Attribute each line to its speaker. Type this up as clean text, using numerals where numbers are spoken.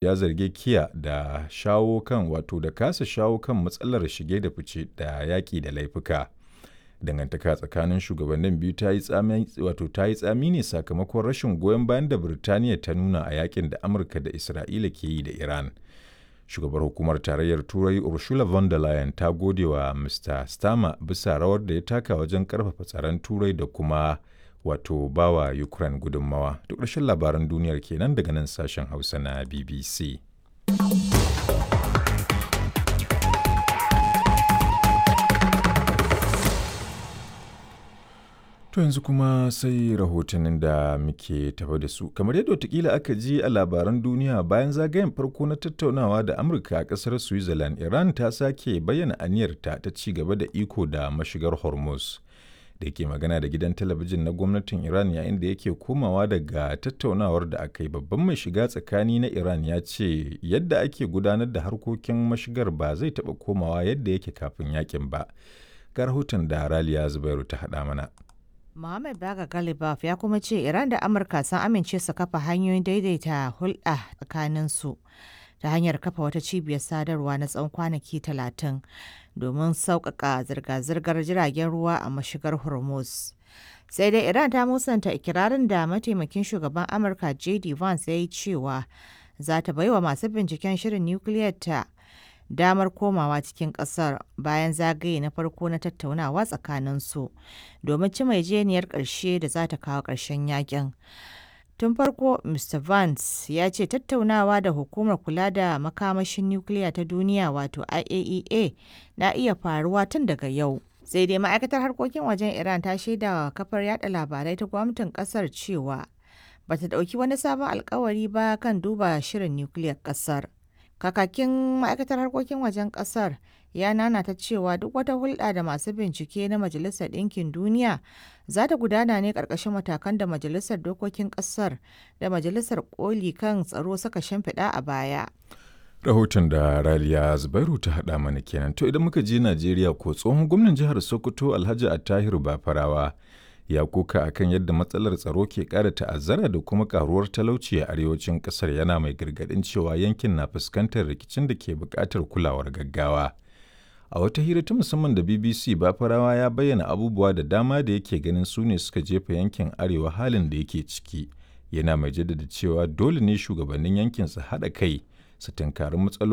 Speaker 1: Ya zargi Kiir da shawo kan wato da kasa shawo kan matsalar shige da fice da yaƙi da laifuka. Dangantaka tsakanin shugabannin biyu ta yi tsami wato ta yi tsami ne sakamakon rashin goyon bayan da Birtaniya ta nuna a yakin da Amurka da Isra'ila ke yi da Iran. Shugabar Hukumar Tarayyar Turai Ursula von der Leyen ta gode wa Mr. Starmer bisa rawar da ya taka wajen karfafa tsaron Turai da kuma wato bawa Ukraine gudunmawa. Duk ƙarshen labaran duniyar kenan daga nan sashen Hausa na BBC. To yanzu kuma sai rahotannin da muke tafa da su. Kamar yadda watakila aka ji a labaran duniya bayan zagayen farko na tattaunawa da Amurka a ƙasar Switzerland, Iran ta sake bayyana aniyarta ta ci gaba da iko da mashigar Hormuz. Da yake magana da gidan talabijin na gwamnatin Iran yayin da yake komawa daga tattaunawar da aka yi babban mai shiga tsakani na Iran ya ce yadda ake gudanar da harkokin mashigar ba zai taɓa komawa yadda yake kafin yakin ba. Ga rahoton da Raliya Zubairu ta haɗa mana.
Speaker 2: Mohammed Baga Galibaf ya kuma ce Iran da Amurka sun amince su kafa hanyoyin daidaita hulɗa tsakaninsu ta hanyar kafa wata cibiyar sadarwa na tsawon kwanaki 30 domin sauƙaƙa zirga-zirgar jiragen ruwa a mashigar Hormuz. Sai dai Iran ta musanta ikirarin da mataimakin shugaban Amurka JD Vance ya yi cewa za ta baiwa masu binciken shirin nukiliyar ta damar komawa cikin kasar bayan zagaye na farko na tattaunawa tsakaninsu domin cimma yarjejeniyar ƙarshe da za ta kawo ƙarshen yakin. Tun farko, Mr. Vance ya ce tattaunawa da hukumar kula da makamashin nukiliya ta duniya wato IAEA na iya faruwa tun daga yau. Sai dai ma'aikatar harkokin wajen Iran ta shaidawa kafar yada labarai ta gwamnatin kasar cewa bata ɗauki wani sabon alkawari ba kan duba shirin nukiliyar kasar. Kakakin ma'aikatar harkokin wajen kasar ya nanata cewa duk wata hulɗa da masu bincike na Majalisar Ɗinkin Duniya za ta gudana ne ƙarƙashin matakan da Majalisar Dokokin Ƙasar da Majalisar Koli kan Tsaro suka shimfiɗa a baya.
Speaker 1: Rahoton da Raliya Zubairu ta haɗa mana kenan. To idan muka je Najeriya ko tsohon gwamnan jihar Sokoto Alhaji Attahiru Bafarawa ya koka akan yadda matsalar tsaro ke ƙara ta'azzara da kuma karuwar talauci a arewacin ƙasar yana mai gargaɗin cewa yankin na fuskantar rikicin da ke buƙatar kulawar gaggawa. A wata hira ta musamman da BBC Bafarawa ya bayyana abubuwa da dama da yake ganin su ne suka jefa yankin arewa halin da yake ciki. Yana mai jaddada cewa dole ne shugabannin yankin su haɗa kai su tunkari matsaloli.